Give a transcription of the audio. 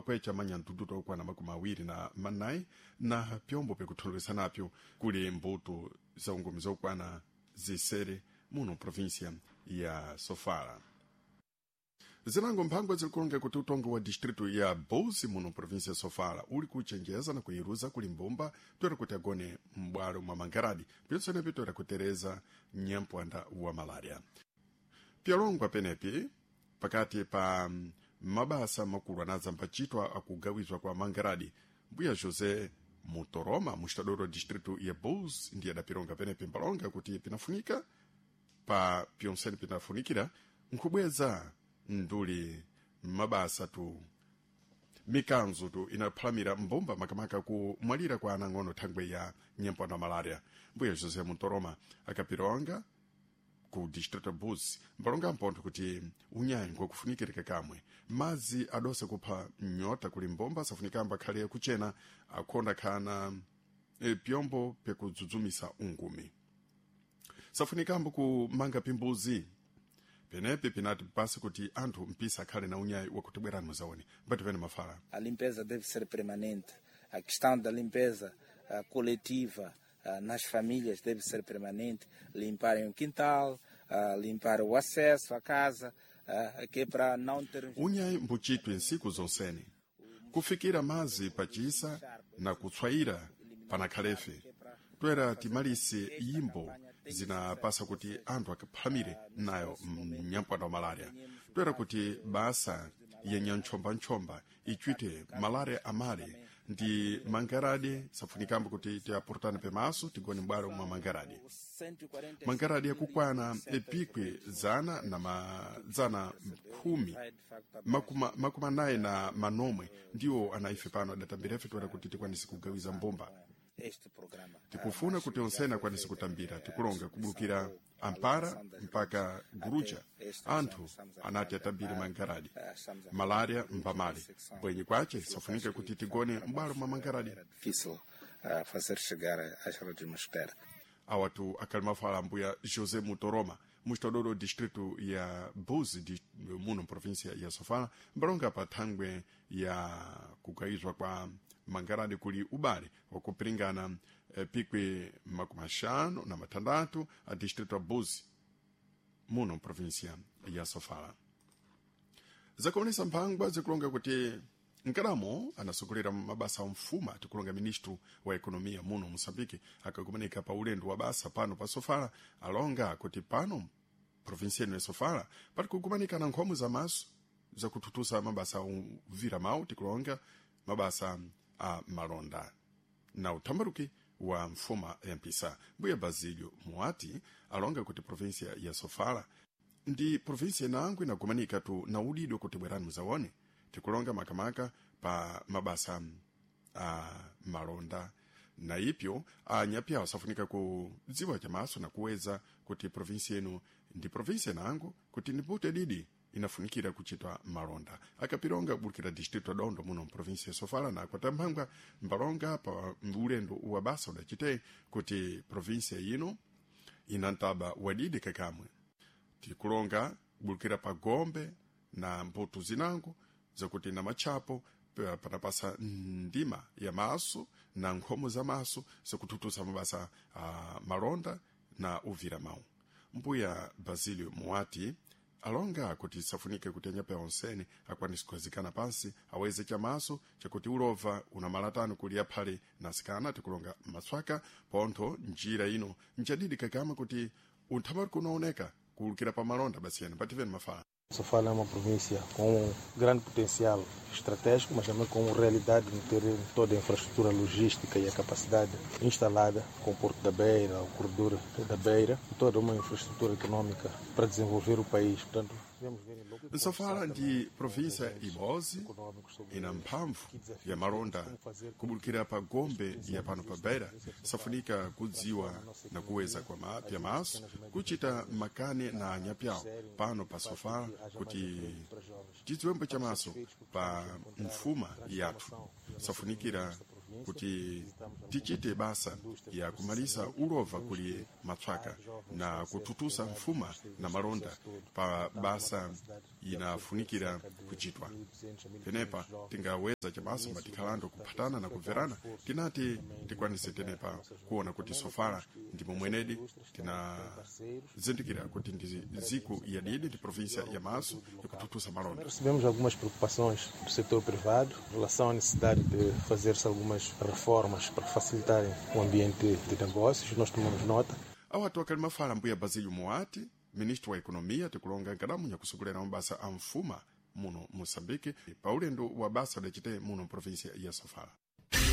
Kwecha manyandudu okwana 24 na pyombo pyakutholowesa napyo kuli mbuto za ungumi zokwana zisere muno província ya Sofala. Zinango mphangwa zilikulonga kuti utongo wa distrito ya Bozi muno província ya Sofala uli kuchenjeza na kuiruza kuli mbumba toera kuti agone m'bwalo mwa mangaradi pyonsenepi toera kutereza nyampwanda wa malaria. Pyalongwa penepi pakati pa mabasa makulu anadzambachitwa akugawizwa kwa mangaradi, mbuya José Mutoroma mustadoro wa distrito ya Bozi ndiye adapironga penepi mbalonga kuti pinafunika pa pyonsene pinafunikira nkhubweza nduli mabasa tu mikanzo tu inaphalamira mbumba makamaka kumwalira kwa anang'ono thangwe ya nyampwanda malaria. Mbuya José Mutoroma akapironga ku distrito Buzi mbalonga mpontho kuti unyayi ngokufunikirika kamwe madzi adosa kupha nyota kuli mbomba safunikamba akhale kuchena akhonda khana pyombo pyakudzudzumisa ungumi safunikambo kumanga pimbuzi penepi pinati pasi kuti anthu mpisa akhale na unyayi wakuti bwerani muzaone mbati pene mafala. A limpeza deve ser permanente. A questão da limpeza coletiva nas famílias deve ser permanente. Limparem o quintal, limpar o acesso à casa, que é para não ter. Unyayi mbuchitwe nsiku zonsene kufikira mazi pachisa na kutswayira panakhalefe toera timalise yimbo zinapasa kuti anthu akaphamire nayo mnyampwanda wa malaria toera kuti basa ya nyantchombanchomba ichite malaria amale ndi mangaradi safunikambo kuti tiapurutane pemaso tigone m'bwalo mwa mangaradi. Mangaradi yakukwana epikwi zana na mazana khumi makumi anayi na manomwe ndiwo anaife pano adatambirefe toera kuti tikwanise kugawiza mbumba. Tikufuna kuti onsene akwanise kutambira tikulonga kubulukira ampara mpaka guruja anthu anati atambire mangaradi. Malaria mbamale bwenyi kwace safunika kuti tigone m'bwalo mwa mangaradi. Difícil fazer chegar às redes mosquiteira. Awatu akhali mafala ambuya José Mutoroma mustadoro distrito ya Buzi muno província ya Sofala mbalonga pa thangwe ya kugayizwa kwa mangaradi kuli ubale wakupiringana pikwi 56 a distrito ya Buzi muno província ya Sofala. Zakuonesa mphangwa zikulonga kuti nkalamo anasogolera mabasa a mfuma tikulonga ministro wa ekonomiya muno Moçambique akakumanika pa ulendo wa basa pano pa Sofala alonga kuti pano provinsia ino ya Sofala pali kukumanika na nkhomo za maso zakututusa mabasa uvira mawu tikulonga mabasa a malonda na uthambaruki wa mfuma ya mpisa. Mbuya Basilio Muati alonga kuti provinsia ya Sofala ndi provinsia inango inakumanika tu na udidwe kuti bwerani muzaone tikulonga makamaka pa mabasa a malonda na ipyo anyapyawo asafunika kudziwa chamaso na kuweza kuti provinsi ino ndi provinsi inango kuti ndipute didi inafunikira kuchitwa malonda. Akapilonga kubulukira distrito Dondo muno mprovinsi ya Sofala na kwatamphangwa mbalonga pa ulendo wa basa udachite kuti provinsi ino ina ntaba wadidi kakamwe tikulonga kubulukira pa gombe na mbuto zinango zakuti na matchapo panapasa ndima ya maso na nkhomo za maso zakututusa mabasa a malonda na uvira mawu. Mbuya Basilio Muati alonga kuti safunike kuti anyape onsene akwanise kukhazikana pansi aweze chamaso chakuti ulova una malatano kuli aphale nasikana tikulonga matswaka pontho njira ino njadidi kakama kuti unthamari unaoneka kuwulukira pa malonda basiyana pativeni mafala. Sofala é uma província com um grande potencial estratégico, mas também com realidade no terreno, toda a infraestrutura logística e a capacidade instalada com o Porto da Beira, o Corredor da Beira, e toda uma infraestrutura econômica para desenvolver o país. Portanto, devemos ver em loco. Sofala ndi província ibozi ina mphamvu ya malonda kubulukira pa gombe ya pano pa Beira safunika kudziwa na kuweza kwa mapya maso kuchita makane na anyapyawo pano pa Sofala kuti tidziwembo chamaso pa mfuma yathu safunikira Kuti tichite basa ya kumalisa ulova kuli matswaka na kututusa mfuma na malonda pa basa inafunikira kuchitwa. Tenepa tingaweza chabaso matikhalando kuphatana na kubverana, tinati tikwanise tenepa kuona kuti Sofala ndimo mwenedi tinazindikira kuti ndi ziku yadidi ndi província ya Maso ikututusa malonda. Recebemos algumas preocupações do setor privado em relação à necessidade de fazer-se algumas reformas para facilitarem o ambiente de negócios. Nós tomamos nota. Awatu akali mafala mbuya Basilio Moati, ministro wa ekonomia, tikulonga nkadamu yakusogolera mabasa a mfuma muno Moçambique pa ulendo wa basa udacite muno província ya Sofala.